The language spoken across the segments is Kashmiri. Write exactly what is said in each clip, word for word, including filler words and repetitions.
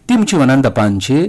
تِم چھِ وَنان، دَپان چھِ،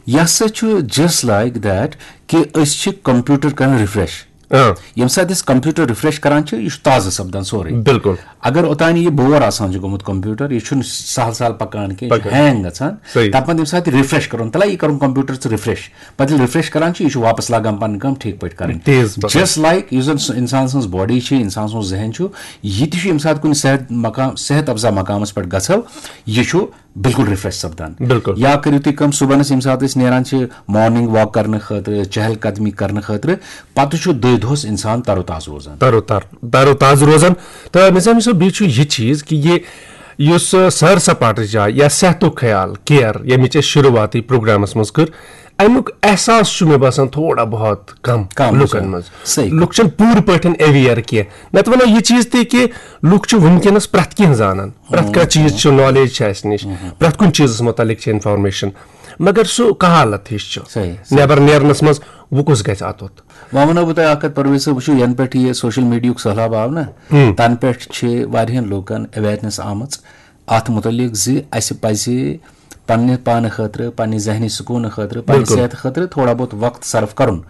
یہِ ہسا چھُ just like that کہِ أسۍ چھِ کمپیوٗٹر کران ریفریش۔ اۭں۔ ییٚمہِ ساتہٕ أسۍ کمپیوٗٹر ریفریش کران چھِ، یہِ چھُ تازٕ سپدان سورُے۔ بِلکُل۔ اگر اوٚتانۍ یہِ بور آسان چھُ گوٚمُت کمپیوٗٹر، یہِ چھُنہٕ سہل سہل پکان کینٛہہ، یہِ چھُ پکان۔ ہینگ گژھان۔ صحیح۔ تَتھ پتہٕ ییٚمہِ ساتہٕ یہِ ریفریش کرُن، تَلہ یہِ کرُن کمپیوٗٹر ژٕ ریفریش، پتہٕ ییٚلہِ ریفریش کران چھِ، یہِ چھُ واپس لاگان پنٕنۍ کٲم ٹھیٖک پٲٹھۍ کرٕنۍ۔ تیز پکان۔ Just like یُس زن سُہ انسان سٕنٛز باڈی چھِ، انسان سُنٛد ذہن چھُ، یہِ تہِ چھُ ییٚمہِ ساتہٕ کُنہِ صحت مقام، صحت افزا مقامس پٮ۪ٹھ گژھو، یہِ چھُ بالکل ریفریش سپدان۔ بِلکُل۔ یا کٔرِو تُہۍ کٲم، صُبحنس ییٚمہِ ساتہٕ أسۍ نیران چھِ مارننگ واک کرنہٕ خٲطرٕ، چہل قدمی کرنہٕ خٲطرٕ، پتہٕ چھُ دٔہۍ دۄہس انسان تر و تازٕ روزان۔ تر و تر تر و تازٕ روزان۔ تہٕ نظامی صٲب، بیٚیہِ چھُ یہِ چیٖز کہِ یہِ یُس سیر سپاٹٕچ جاے یا صحتُک خیال، کیر، ییٚمِچ اَسہِ شروٗعاتٕے پروگرامس منٛز کٔر، اَمیُک احساس چھُ مےٚ باسان تھوڑا بہت کم کم لُکن چھُ۔ منٛز۔ صحیح کَتھ۔ لُکھ چھِنہٕ پوٗرٕ پٲٹھۍ اویئر کینٛہہ۔ نتہٕ وَنو یہِ چیٖز تہِ کہِ لُکھ چھِ وٕنکیٚنس پرٛٮ۪تھ کینٛہہ زانان، پرٛٮ۪تھ کانٛہہ چیٖز چھُ، نالیج چھِ اَسہِ نِش، پرٛٮ۪تھ کُنہِ چیٖزس مُتعلق چھِ انفارمیشن، مگر سُہ کہالت ہِش چھُ۔ صحیح، صحیح۔ نٮ۪بر نیرنس منٛز وۄنۍ کُس گژھِ اَتُتھ؟ وۄنۍ وَنو بہٕ تۄہہِ اَکھ کَتھ، پرویز صٲب، وٕچھِو، یَنہٕ پٮ۪ٹھ یہِ سوشل میٖڈیاہُک سٔہلاب آو نہ، تَنہٕ پٮ۪ٹھ چھِ واریاہَن لوٗکَن اویرنیس آمٕژ اَتھ مُتعلِق زِ اَسہِ پَزِ پننہِ پانہٕ خٲطرٕ، پننہِ ذہنی سکوٗنہٕ خٲطرٕ، پننہِ بِلکُل۔ صحتہٕ خٲطرٕ تھوڑا بہت وقت صرف کَرُن۔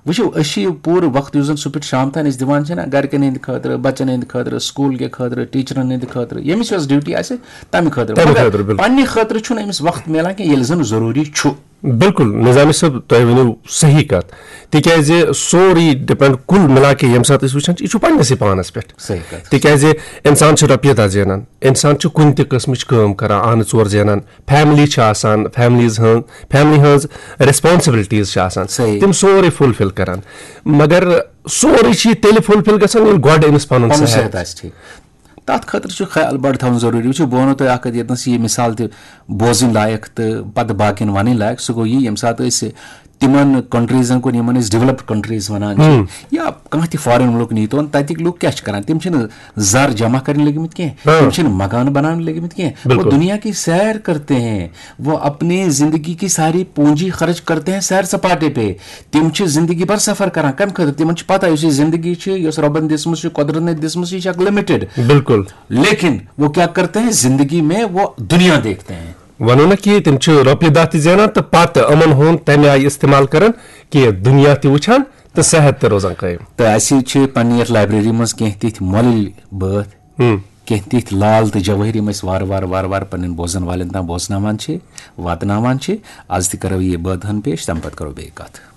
وٕچھِو، أسۍ چھِ یہِ پوٗرٕ وقت یُس زَن صُبحَس پٮ۪ٹھ شام تام أسۍ دِوان چھِنہ گَرِکٮ۪ن ہِنٛدِ خٲطرٕ، بَچَن ہِنٛدِ خٲطرٕ، سکوٗل کہِ خٲطرٕ، ٹیٖچرَن ہِنٛدِ خٲطرٕ، ییٚمِس یۄس ڈیوٹی آسہِ تَمہِ خٲطرٕ۔ تَمہِ مگر خٲطرٕ، بِلکُل۔ پننہِ خٲطرٕ چھُنہٕ أمِس وقت میلان کینٛہہ، ییٚلہِ زَن ضروٗری چھُ۔ بِلکُل، نظامی صٲب، تۄہہِ ؤنِو صحیح کَتھ، تِکیٛازِ سورُے ڈِپینڈ، کُل مِلا کے ییٚمہِ ساتہٕ أسۍ وٕچھان چھِ، یہِ چھُ پننِسٕے پانَس پٮ۪ٹھ۔ صحیح کَتھ۔ تِکیٛازِ اِنسان چھُ رۄپیہِ دَہ زینان، اِنسان چھُ کُنہِ تہِ قٕسمٕچ کٲم کران، آنہٕ ژور زینان، فیملی چھِ آسان، فیملیز ہٕنٛز، فیملی ہٕنٛز ریسپانسبلٹیٖز چھِ آسان، صحیح۔ تِم سورُے فُلفِل کران، مگر سورُے چھُ یہِ تیٚلہِ فُلفِل گژھان، ییٚلہِ گۄڈٕ أمِس پَنُن پَنُن صحت صحت آسہِ ٹھیٖک۔ تَتھ خٲطرٕ چھُ خیال بَڑٕ تھاوُن ضروٗری۔ وٕچھِو، بہٕ وَنو تۄہہِ اَکھ کَتھ، ییٚتنَس یہِ مِثال تہِ بوزٕنۍ لایق تہٕ پَتہٕ باقیَن وَنٕنۍ لایق، سُہ گوٚو یہِ، ییٚمہِ ساتہٕ أسۍ تِمَن کنٹریٖزَن کُن، یِمَن أسۍ ڈیولپڈ کنٹریٖز وَنان چھِ، یا کانٛہہ تہِ فارِن مُلک نِیِو تُہۍ، تَتِکۍ لُکھ کیٛاہ چھِ کَران؟ تِم چھِنہٕ زَر جمع کَرٕنۍ لٔگمٕتۍ کینٛہہ، تِم چھِنہٕ مکان بَناونہٕ لٔگمٕتۍ کینٛہہ، وہ بِلکُل۔ دُنیا کی سیر کرتے ہیں، وہ اپنی زندگی کی ساری پونجی خرچ کرتے ہیں سیر سپاٹے پہ۔ تِم چھِ زندگی بھر سفر کران۔ کَمہِ خٲطرٕ؟ تِمن چھِ پتہ، یُس یہِ زندگی چھِ، یۄس رۄبن دِژمٕژ چھِ، قۄدرتن دِژمٕژ چھِ، یہِ چھِ اکھ لِمِٹڈ۔ بِلکُل۔ لیکن وہ کیا کرتے ہیں؟ زندگی میں وہ دنیا دیکھتے ہیں۔ وَنو نہ کہِ تِم چھِ رۄپیہِ دَہ تہِ زینان تہٕ پَتہٕ یِمَن ہُنٛد تَمہِ آیہِ استعمال کران کہِ دُنیا تہِ وٕچھان تہٕ صحت تہِ روزان قٲیِم۔ تہٕ اَسہِ چھِ پننہِ یَتھ لایبریری منٛز کینٛہہ تِتھۍ مۄلٕلۍ بٲتھ، ہُم۔ کینٛہہ تِتھۍ لال تہٕ جوٲہِر، یِم أسۍ وارٕ وارٕ وارٕ وارٕ پننٮ۪ن بوزن والٮ۪ن تام بوزناوان چھِ، واتناوان چھِ۔ از تہِ کرو یہِ بٲتھ ہن پیش، تَمہِ پتہٕ کرو بیٚیہِ کتھ۔